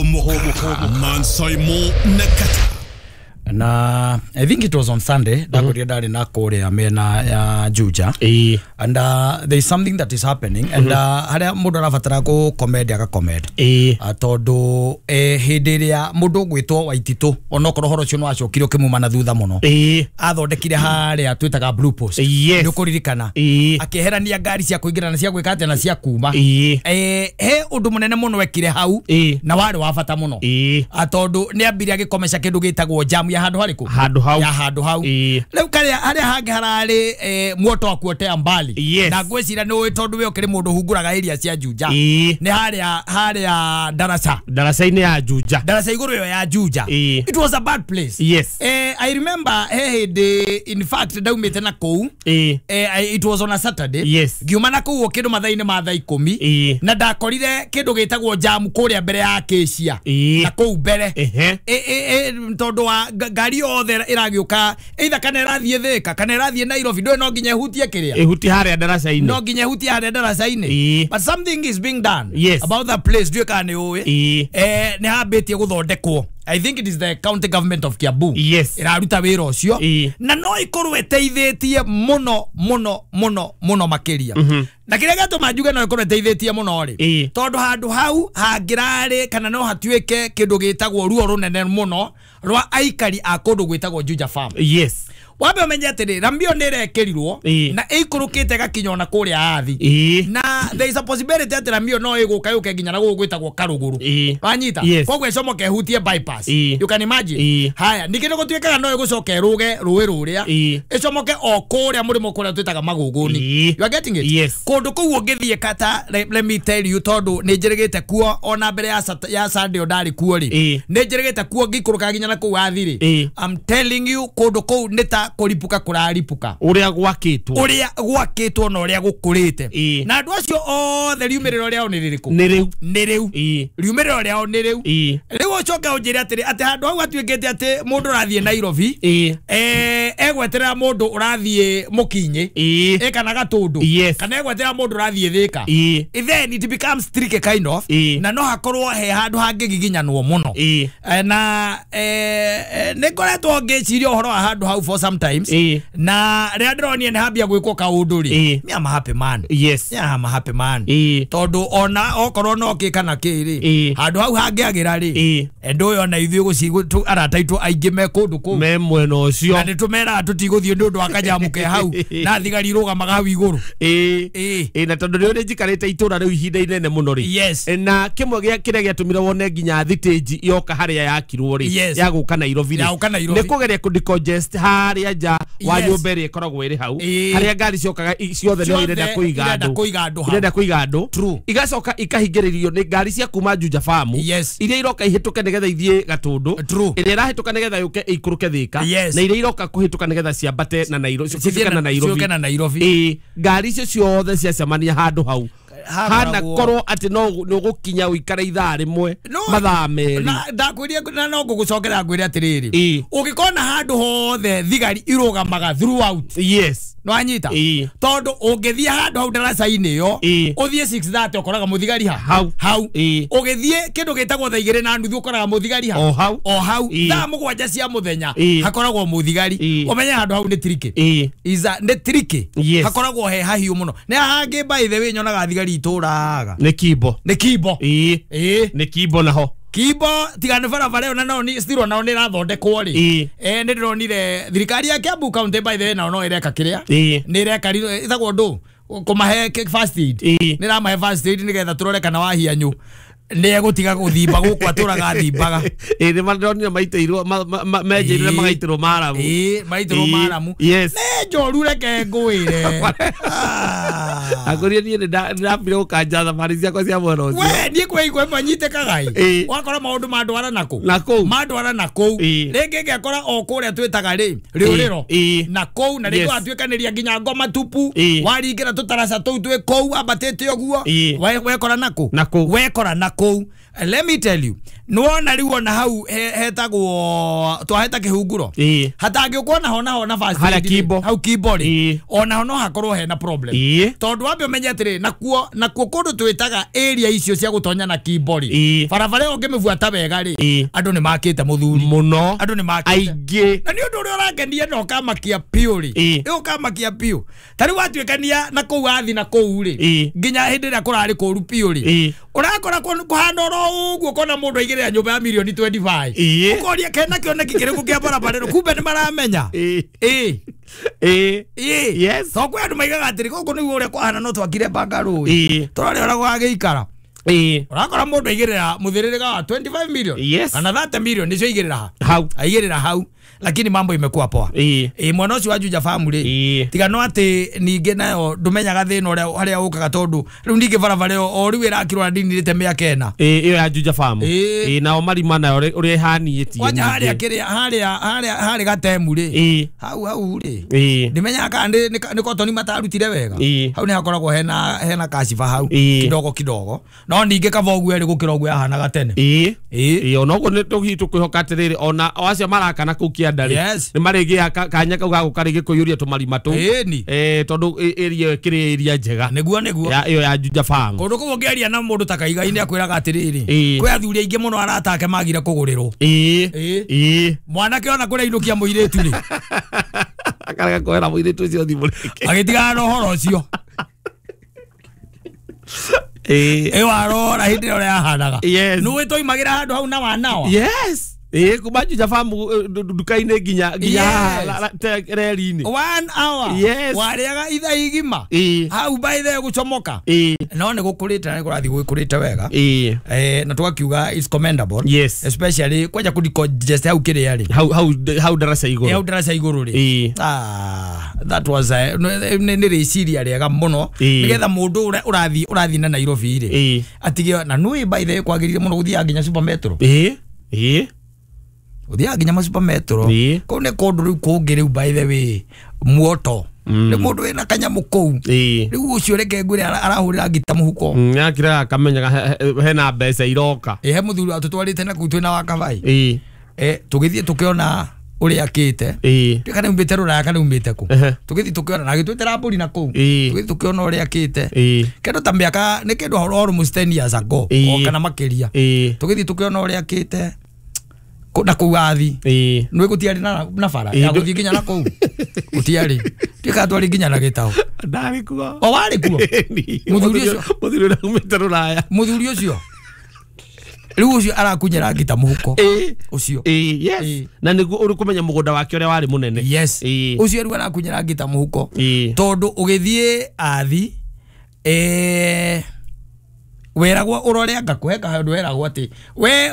Homoka Mansaimo Nakata. Na I think it was on Sunday ndakorire ndari na kuria mena ya Juja. And there is something that is happening and haria mundu arabatara ku comedy aka comedy tondu hindi iria mundu gwitwo Waititu onokorwo horo ucio no acokire ukimuma na thutha muno athondekire haria twitaga Blue Post ni ukuririkana akiherania ngari cia kuingira na cia gwika atia na cia kuma he undu munene muno ekire hau na wari wa bata muno tondu ni ambire agikomesha kindu gitagwo jam ya handu hariku handu hau ya handu hau riu karia haria hangi harari muoto wa kuotea mbali na ngwicira ni tondu we ukiri mundu hunguraga area cia Juja ni haria haria darasa darasa-ini ya Juja darasa iguru yo ya Juja. It was a bad place. Yes. I remember he in fact ndaumite na kuu it was on a Saturday. Yes. Ngiuma na kuu kindu mathaini ma thaa 10 na ndakorire kindu gitagwo jam kuria mbere ya Acacia na kuu mbere tondu wa ngari yothe iragiuka either kana irathie Thika kana irathie Nairobi ndwe no nginya ihutie kiria ihutie haria darasa-ini no nginya ihutie haria darasa-ini. But something is being done. Yes. About that place ndwe kana ni uwi ni hambitie guthondekwo. I think it is the county government of Kiambu. Yes. Iraruta wira ucio na no ikorwo iteithitie muno muno muno muno makiria. Na kiria gatuma njuge no ikorwo iteithitie muno ri tondu handu hau hangirari kana no hatuike kindu gitagwo ruo runene muno rwa aikari a kundu gwitagwo Juja Farm. Yes. Wambe umenye atiri rambio ni irekirirwo na ikurukite gakinya ona kuria athi na there is a possibility ati rambio no iguka yuke nginya na guku gwitagwo Karuguru wanyita. Yes. Koguo icomoke hutie bypass. You can imagine. Haya ningĩ nĩ gũtuĩkaga no ĩgũcoka ĩrũge rũĩ rũrĩa ĩcomoke o kũrĩa mũrĩmo kũrĩa twĩtaga Magũgũni. You are getting it? Yes. Kũndũ kũu ũngĩthiĩ kata let me tell you tondu nĩ njĩrĩgĩte kuo ona mbere ya Sunday ndarĩ kuo rĩ nĩ njĩrĩgĩte kuo ngĩikũrũka nginya na kũu athi rĩ. I'm telling you kũndũ kũu nĩ ta kũripuka kũraripuka uria gwakitwo uria gwakitwo na uria gukurite na andu acio othe riumĩrĩro rĩao nĩ rĩrĩkũ nĩ rĩu riumĩrĩro rĩao nĩ rĩu rĩu ũcoke ũnjĩre atĩrĩ atĩ handũ hau hatuĩkĩte atĩ mũndũ ũrathiĩ Nairobi egweterera mũndũ ũrathiĩ Mũkinyĩ kana Gatũndũ kana egweterera mũndũ ũrathiĩ Thika, then it becomes tricky kind of na no hakorwo he handũ hangĩgiginyanwo mũno na nĩ ngoretwo ngĩciria ũhoro wa handũ hau for some times na rĩrĩa ndĩronire nĩ hambia gwĩkwo kaũndũ rĩ me am a happy man. Yes. Yeah, I'm a happy man tondu ona okorwo no kĩ kana kĩ rĩ handũ hau hangĩagĩra rĩ endũ ũyũ ona ithuĩ arata aitũ aingĩ me kũndũ kũu me mwena ũcio na nĩtũmeraga tũtigũthiĩ nĩ ũndũ wa kanyamu ke hau na thigari irũgamaga hau igũrũ na tondũ nĩ ũrĩ njikarĩte itũra rĩu ihinda inene mũno rĩ. Yes. Na kĩmwe gĩa kĩrĩa gĩatũmire wone nginya thitĩnji yoka harĩa yakirwo rĩ ya gũka Nairobi rĩ nĩ kũgeria kũ decongest harĩa nja wa nyũmba ĩrĩa ĩkoragwo ĩrĩ hau harĩa ngari ciokaga ciothe nĩ irenda kũiga andũ irenda kũiga andũ igacoka ikahingĩrĩrio nĩ ngari cia kuma Juja Farm iria iroka ihĩtũke nĩgetha ithiĩ Gatũndũ ĩrĩa ĩrahĩtũka nĩgetha yũke ĩikũrũke Thika na iria iroka kũhĩtũka nĩgetha ciambate na Nairobi ciũke na Nairobi. Ngari icio ciothe ciacemania handũ hau hana korwo ati no nĩũgũkinya ũikare ithaa rĩmwe mathaa merĩ ndakwĩria na no ngũgũcokera ngwĩre atĩrĩrĩ ũngĩkona handũ hothe thigari irũgamaga throughout. Yes. Nĩwanyita tondu ũngĩthiĩ handũ hau ndaraca-inĩ ĩyo ũthiĩ 6:30 ũkoraga mũthigari ha hau ũgĩthiĩ kĩndũ gĩtagwo thaa 2:30 ũkoraga mũthigari ha o hau thaa 7 cia mũthenya hakoragwo mũthigari ũmenye handũ hau nĩ tricky nĩ tricky hakoragwo he hahiũ mũno nĩ hangĩ by the way nyonaga thigari itũraga nĩ Kimbo nĩ Kimbo nĩ Kimbo naho Kimbo tiga nĩ barabara ĩyo na nao ni still nao nĩ irathondekwo rĩ nĩ ndĩronire thirikari ya Kiambu County by the way nao no ĩreka kĩrĩa nĩ ĩreka ĩtagwo ndũ kũmahe first aid nĩ ĩramahe first aid nĩgetha tũrore kana wahianyũ nĩ egũtiga gũthimba gũkũ atũraga thimbaga nĩ mandĩronire maitĩirwo menjeire magaitĩrwo maramu maitĩrwo maramu. Yes. Nĩ njoru reke ngwĩre akũria niĩ nĩndambire gũkanja thabarĩ ciakwa cia mwena ũcio we niĩ kwĩ manyitĩkaga ĩ wakora maũndũ mandwara nakũ nakũu mandwara nakũu rĩngĩ ngekora o kũrĩa twĩtaga rĩ rĩũrĩro na kũu na rĩngĩ watuĩkanĩria nginya ngoma tupu waringĩra tũtaraca tũu twĩ kũu ambatĩte ũguo wekora nakũ wekora nakũu. kũu. Let me tell you, nĩwona rĩu ona hau hetagwo twaheta kĩhunguro hatangĩũkwo naho naho na fast Harĩa Kimbo. Hau Kimbo rĩ, onaho no hakorwo hena problem. Tondũ wambe ũmenye atĩrĩ, nakuo kũndũ twĩtaga area icio cia gũtonya na Kimbo rĩ, barabara ĩyo ũngĩmĩbuata wega rĩ, andũ nĩ makĩte mũthuri mũno, andũ nĩ makĩte aingĩ. Na nĩ ũndũ ũrĩa ũrangenia na ũkamakia piũ rĩ, ũkamakia piũ ta rĩu watuĩkania na kũu athi na kũu rĩ, nginya hĩndĩ ĩrĩa kũrarĩ kũru piũ rĩ, ũrakora kũhana oro ũguo kona mũndũ aigĩrĩra nyũmba ya milioni 25, ũkoria kena kĩoneki kĩrĩkũ kĩa barabara ĩno, kumbe nĩ maramenya. Yes. To kwĩ andũ maigaga atĩrĩ gũkũ nĩguo ũrĩa kwahana no twakire bungalow tũrore ũrĩa gũgagĩikara. Ũrakora mũndũ aigĩrĩra mũthĩrĩrĩga wa 25 million kana 30 million nĩcio aigĩrĩra hau, aigĩrĩra hau, lakini mambo imekuwa poa. Mwana ũcio wa Juja Farm rĩ, tiga no atĩ ningĩ nayo ndũmenyaga thĩna ũrĩa harĩa ũkaga, tondũ rĩu ningĩ barabara ĩyo o rĩu ĩrakirwo na ndinirĩte mĩaka ĩna. Ĩyo ya Juja Farm. Nao marima nayo ũrĩa ĩhaniĩtie kwanja harĩa kĩrĩa harĩa harĩ gatemu rĩ, hau rĩ ndimenyaga kana nĩ kotoni matarutire wega, hau nĩ hakoragwo hena kashiba hau kidogo kidogo, no ningĩ kaba ũguo ĩrĩ gũkĩra ũguo yahanaga tene. Ona ũguo nĩ tũkwĩhoka atĩrĩrĩ, ona o acio marakana kũu kĩanda rĩ, nĩ marĩgĩa kanya kau ga gũka rĩngĩ kũiyũria tũmarima tũu, tondũ area ĩyo ĩkĩrĩ area njega. Nĩguo ĩyo ya Juja Farm. Kũndũ kũu ũngĩaria na mũndũ ta Kaigai nĩ akwĩraga atĩrĩrĩ, kwĩ athuri aingĩ mũno arata ake magire kũgũrĩrwo. Mwanake ona kũrĩa inũkia mũirĩtu rĩ, akarega kuoera mũirĩtu ũcio thimũ rĩngĩ, agĩtigana na ũhoro ũcio. Ĩyo arora hĩndĩ ĩrĩa yahanaga. Nĩũĩ twaimagĩra handũ hau na wanawa. Yes. Kuma Juja Farm nduka-inĩ nginya reri-inĩ. 1 hour. Warĩaga ithaa igima. Hau by the gũcomoka. No nĩ gũkũrĩte na nĩ kũrathiĩ gwĩkũrĩte wega. Na tũgakiuga it's commendable. Yes. Especially kwanja kũdecongest hau kĩrĩa rĩ. Hau ndaraca igũrũ. Hau ndaraca igũrũ rĩ. That was nĩ rĩciria rĩega mũno, nĩgetha mũndũ ũrĩa ũrathiĩ na Nairobi rĩ, atige na nũĩ by the way kwagĩrĩire mũno gũthiaga nginya Super Metro. Ũthiaga nginya ma Super Metro. Kũu nĩ kũndũ rĩu kũngĩ rĩu by the way muoto. Nĩ mũndũ wĩna kanyamũ kũu. Rĩu ũcio reke ngwĩre arahũrĩra ngita mũhuko. Nĩakiraga akamenyaga hena mbeca iroka. He mũthuri atũtwarĩte na kũu twĩna wa Kavai. Tũgĩthiĩ tũkĩona ũrĩa akĩte. Kana umĩte rũraya kana umĩte kũ. Tũgĩthiĩ tũkĩona na agĩtwĩtĩra mbũri na kũu. Tũgĩthiĩ tũkĩona ũrĩa akĩte. Kĩndũ ta mĩaka nĩ kĩndũ almost 10 years ago o kana makĩria. Tũgĩthiĩ tũkĩona ũrĩa akĩte na kũu athi. Nĩ gũtiarĩ na bara ya gũthiĩ nginya na kũu. Gũtiarĩ. Tuĩka twarĩ nginya na gĩtaũ. Ndarĩ kuo. O warĩ kuo. Mũthuri ũcio. Mũthuri ũrĩa umĩte rũraya. Mũthuri ũcio. Rĩu ũcio arakunyĩra ngita mũhuko. Ũcio. Yes. Na nĩguo ũrĩ kũmenya mũgũnda wake ũrĩa warĩ mũnene. Yes. Ũcio rĩu arakunyĩra ngita mũhuko. Tondũ ũgĩthiĩ athi weragwo ũrore anga kũhe handũ weragwo atĩ we